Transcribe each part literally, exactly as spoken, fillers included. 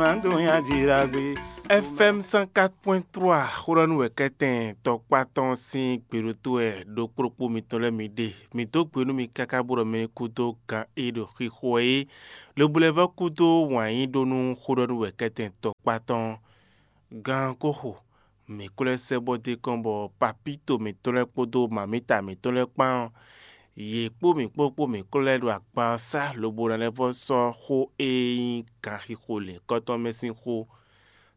Nǎ dó nyi ají ɖagbe. F M cent quatre point trois xó ɖɔ nú wɛ̌kɛ́tɛn tɔkpá tɔn sín gběɖótó wɛ ɖokpóɖokpó mitɔn lɛ́ɛ mi ɖe. Mǐ dó gbe nú mi káká bó ɖɔ mɛ e kú dó gan e ɖo xixo wɛ é, lobo lɛ́ vɔ́ kú dó wǎn yí ɖó nú xó ɖɔ nú wɛ̌kɛ́tɛn tɔkpá tɔn. Gan ko xo, mǐ ko lɛ́ sɛ́ bɔ d'é kɔn bɔ papíto mǐtɔn lɛ́ɛ kpódó mamǐta mǐtɔn lɛ́ɛ kpán ɔ́, yě kpó mǐ kpó kpó mǐ ko lɛ́ ɖo akpa ɔ́ sá lobo ná lɛ́ vɔ́ sɔ́ xó e nyí ganxixo lěhunkɔtɔn mɛ sín xó.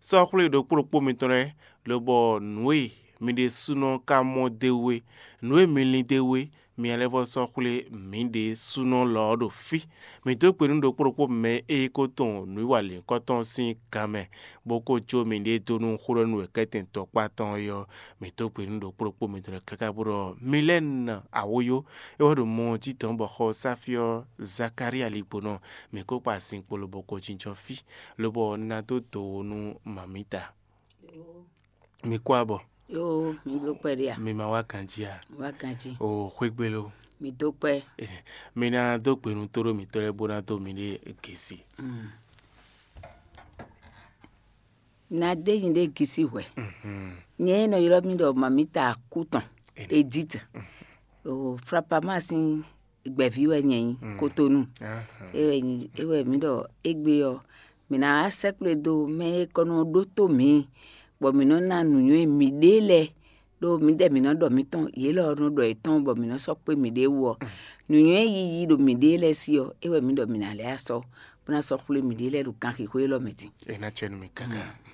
Sɔ́ xwlé ɖokpó ɖokpó mitɔn lɛ́ɛ, lobɔ nǔ e mi ɖésúnɔ ka mɔ d'é wú é, nǔ e mi lin d'é wú é, mi ná lɛ́ vɔ́ sɔ́ xwlé mǐ ɖésúnɔ lɔ ɔ́ ɖo fí. Mǐ dó gbe nú ɖokpó ɖokpó mɛ e ko tunwun nǔwiwa lěhunkɔtɔn sín gan mɛ, bó ko jó miɖée dó nú xó ɖɔ nú wɛ̌kɛ́tɛn tɔkpá tɔn é ɔ́, mǐ dó gbe nú ɖokpó ɖokpó mitɔn lɛ́ɛ káká bó ɖɔ mi lɛ́ na awǒyó. É wɛ ɖo mɔ jí dɔ̌n bɔ xɔ Sáfí ɔ́, Zakalía ligbonɔ, mǐ ko kpa sin kpo lobo ko jínjɔ́n fí, lobo ná dó dǒ wo nú mamǐta. Mi kú abɔ. Yo, mi bló kpɛɖé a? Mi ma wá ganjí a? Wá ganjí. O xwégbé lo. Mi dó kpɛ. Mi ná dó gbe nú tóɖó mǐtɔn lɛ́ɛ bó ná dó mi ɖé gěsi. Mm. Na dé nyi ɖé gisi hwɛ. Mhm. Nyɛ e nɔ ylɔ́ mì ɖɔ mamita kú tɔn. Edith. O Frapama sín gbɛ̌ví wɛ nyɛ nyí. Mm. Kotonu. Aha. É wɛ nyí é wɛ mǐ ɖɔ égbé ɔ́, mǐ ná wá sɛ́kplé dó mɛ e kɔ nɔ ɖótó mǐ, bɔ mǐ nɔ ná nǔnywɛ́ mǐɖée lɛ́ɛ, ɖó mǐdɛɛ mǐ nɔ ɖɔ mǐtɔn, yě lɔ nɔ ɖɔ yětɔn, bɔ mǐ nɔ sɔ́ kpé mǐɖée wú ɔ́. Nǔnywɛ́ yiyi ɖo mǐɖée lɛ́ɛ sí ɔ́, é wɛ mǐ ɖɔ mǐ ná lɛ́ asɔ, bó ná sɔ́ xwlé mǐɖée lɛ́ɛ ɖo ganxixo élɔ́ mɛ din. É ná cɛ nú mì káká. Mm.